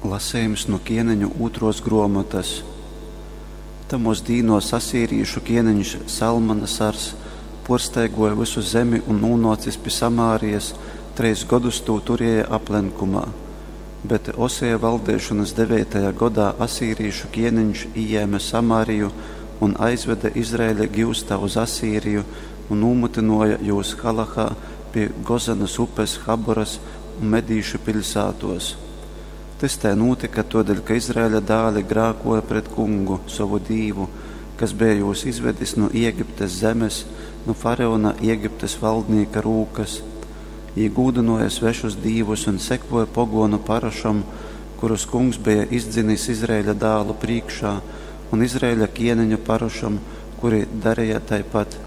Lasejums nu Kieneņu ūtruos gruomotys. Tamuos dīnuos asīrīšu kieneņš Salmanasars puorstaiguoja vysu zemi un, nūnuocis pi Samārijas, trejs godus tū turieja aplenkumā. Bet Oseja valdeišonys deveitajā godā asīrīšu kieneņš ījēme Samāriju un aizvede Izraeļa giustā uz Asīriju un nūmytynuoja jūs Halahā pi Gozanas upes, Haboras un medīšu piļsātuos. Tys tai nūtyka tōdēļ, ka Izraeļa dāli grākōja pret Kungu, sovu Dīvu, kas beja jūs izvedis nu Egiptes zemes, nu faraona, Egiptes valdnīka rūkas. Jī gūdynōja svešus dīvus un sekōja pogōnu parašom, kurus Kungs beja izdzinis Izraeļa dālu prīškā, un Izraeļa kieneņu parašom, kuri dareja taipat.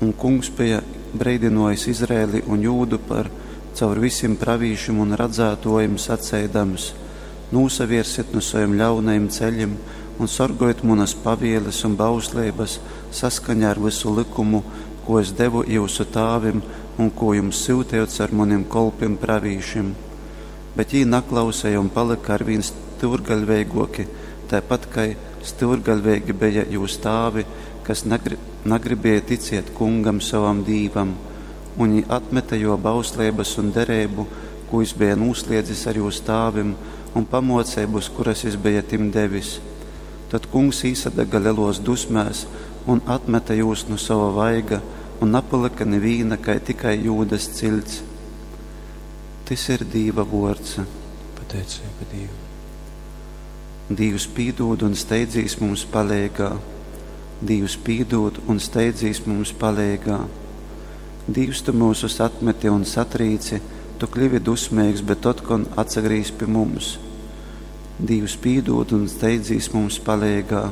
Un Kungs beja breidynōjis Izraeli un Jūdu par caur visim pravīšim un radzātōjim, saceidams, Nūsaviersit nu sovim ļaunajim ceļim un sorgojit munas pavieles un bausleibas saskaņā ar vysu lykumu, kū es devu jyusu tāvim un kū jums syuteju caur munim kolpim pravīšim. Bet jī naklauseja un palyka arvīn styurgaļveigōki, taipat kai styurgaļveigi beja jūs tāvi, kas nagribēja ticiet Kungam, sovam Dīvam. Un jī atmete jō bausleibas un dereibu, kū jys beja nūsliedzis ar jūs tāvim, un pamōceibus, kuras jys beja tim devis. Tod Kungs īsadaga lelōs dusmēs un atmete jūs nu sova vaiga, un napalyka nivīna, kai tikai Jūdas ciļts. Tys ir Dīva vōrds. Pateiceiba Dīvam. Dīvs pīdūd un steidzīs mums paleigā. Dīvs pīdūd un steidzīs mums paleigā. Dīvs, tu myusus atmeti un satrīci, tu kļivi dusmeigs, bet otkon atsagrīz pi mums. Dīvs pīdūd un steidzīs mums paleigā.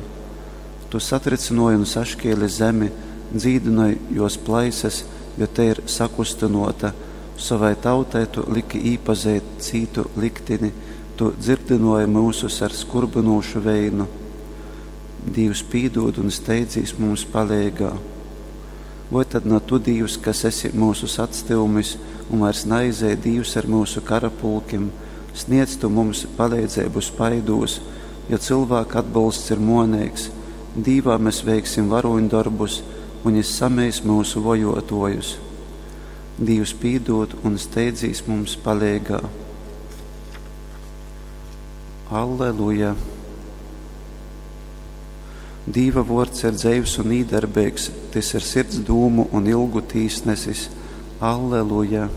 Tu satrycynōji un saškēli zemi, dzīdynoj jōs plaisas, jo tei ir sakustynōta. Sovai tautai tu liki īpazeit cītu liktini, tu dzyrdynōji myusus ar skurbynūšu veinu. Dīvs pīdūd un steidzīs mums paleigā. Voi tad na tu, Dīvs, kas esi myusus atstyumis un vairs naizej Dīvs ar myusu karapulkim, sniedz tu mums paleidzeibu spaidūs, jo cylvāka atbolsts ir muoneigs, Dīvā mes veiksim varūņdorbus, un jys sameis myusu vojōtōjus. Dīvs pīdūd un steidzīs mums paleigā. Alleluja! Dīva vōrds ir dzeivs un īdarbeigs, tys ir sirds dūmu un ilgu tīsnesis. Alleluja!